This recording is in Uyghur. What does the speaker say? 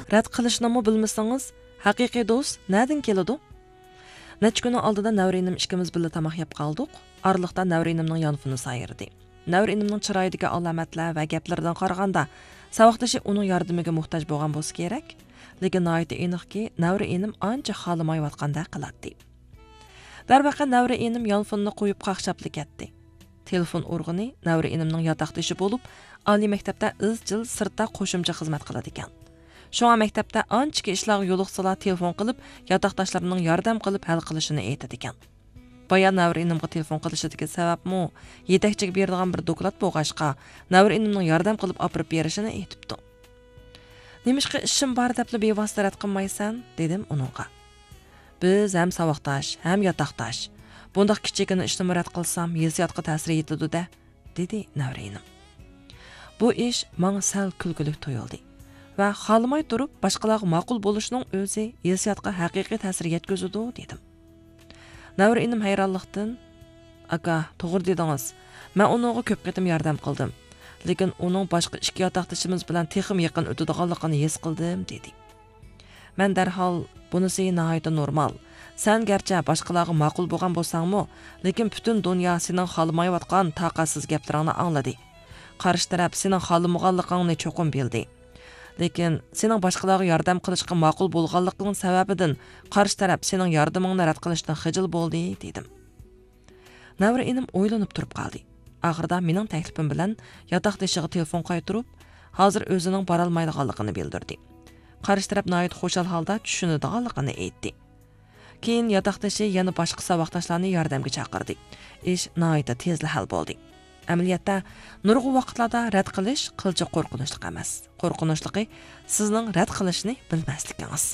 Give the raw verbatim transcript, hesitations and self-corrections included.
رەت قىلىشنىمۇ بىلمىسىڭىز، ھەقىقىي دوست نەدىن كېلىدۇ؟ نەچچە كۈننىڭ ئالدىدا نەۋرە ئىنىم ئىككىمىز بىللە تاماق يەپ قالدۇق. ئارىلىقتا نەۋرە ئىنىمنىڭ يانفونى سايرىدى. نەۋرە ئىنىمنىڭ چىرايىدىكى ئالامەتلەر ۋە گەپلىرىدىن قارىغاندا، ساۋاقدىشى ئۇنىڭ ياردىمىگە موھتاج بولغان بولسا كېرەك. لېكىن ناھايىتى ئېنىقكى، نەۋرە ئىنىم ئانچە خالىمايۋاتقاندەك قىلاتتى. دەرۋەقە، نەۋرە ئىنىم يانفوننى قويۇپ قاقشاپلا كەتتى. تېلېفون ئۇرغىنى نەۋرە ئىنىمنىڭ ياتاقدىشى بولۇپ، ئالىي مەكتەپتە ئىزچىل سىرتتا قوشۇمچە خىزمەت قىلىدىكەن. شۇڭا مەكتەپتە ئانچىكى ئىشلارغا يولۇقسىلا تېلېفون قىلىپ، ياتاقداشلىرىنىڭ ياردەم قىلىپ ھەل قىلىشىنى ئېيتىدىكەن. بايا نەۋرە ئىنىمغا تېلېفون قىلىشىدىكى سەۋەبمۇ يېتەكچىگە بېرىدىغان بىر دوكلات بولغاچقا، نەۋرە ئىنىمنىڭ ياردەم قىلىپ ئاپىرىپ بېرىشىنى ئېيتىپتۇ. نېمىشقا ئىشىم بار دەپلا بىۋاسىتە رەت قىلمايسەن؟ دېدىم ئۇنىڭغا. بىز ھەم ساۋاقداش، ھەم ياتاقداش. بۇنداق كىچىككىنە ئىشنىمۇ رەت قىلسام، ھېسسىياتقا تەسىر يېتىدۇ-دە، دېدى نەۋرە ئىنىم. بۇ ئىش ماڭا سەل كۈلكىلىك تۇيۇلدى ۋە خالىماي تۇرۇپ باشقىلارغا ماقۇل بولۇشنىڭ ئۆزى ھېسسىياتقا ھەقىقىي تەسىر يەتكۈزىدۇ، دېدىم. نەۋرە ئىنىم ھەيرانلىقتىن، ئاكا، توغرا دېدىڭىز. مەن ئۇنىڭغا كۆپ قېتىم ياردەم قىلدىم. لېكىن ئۇنىڭ باشقا ئىككى ياتاقدىشىمىز بىلەن تېخىمۇ يېقىن ئۆتىدىغانلىقىنى ھېس قىلدىم، دېدى. مەن دەرھال، بۇنىسى ناھايىتى نورمال. سەن گەرچە باشقىلارغا ماقۇل بولغان بولساڭمۇ، لېكىن پۈتۈن دۇنيا سېنىڭ خالىمايۋاتقان تاقەتسىز گەپلىرىڭنى ئاڭلىدى. قارشى تەرەپ سېنىڭ خالىمىغانلىقىڭنى چوقۇم بىلدى. لېكىن سېنىڭ باشقىلارغا ياردەم قىلىشقا ماقۇل بولغانلىقىڭ سەۋەبىدىن قارشى تەرەپ سېنىڭ ياردىمىڭنى رەت قىلىشتىن خىجىل بولدى، دېدىم. نەۋرە ئىنىم ئويلىنىپ تۇرۇپ قالدى. ئاخىرىدا مېنىڭ تەكلىپىم بىلەن ياتاقدىشىغا تېلېفون قايتۇرۇپ، ھازىر ئۆزىنىڭ بارالمايدىغانلىقىنى بىلدۈردى. قارشى تەرەپ ناھايىتى خۇشال ھالدا چۈشىنىدىغانلىقىنى ئېيتتى. كېيىن ياتاقدىشى يەنە باشقا ساۋاقداشلارنى ياردەمگە چاقىردى. ئىش ناھايىتى تېزلا ھەل بولدى. ئەمەلىيەتتە، نۇرغۇن ۋاقىتلاردا رەت قىلىش قىلچە قورقۇنچلۇق ئەمەس. قورقۇنچلۇقى سىزنىڭ رەت قىلىشنى بىلمەسلىكىڭىز.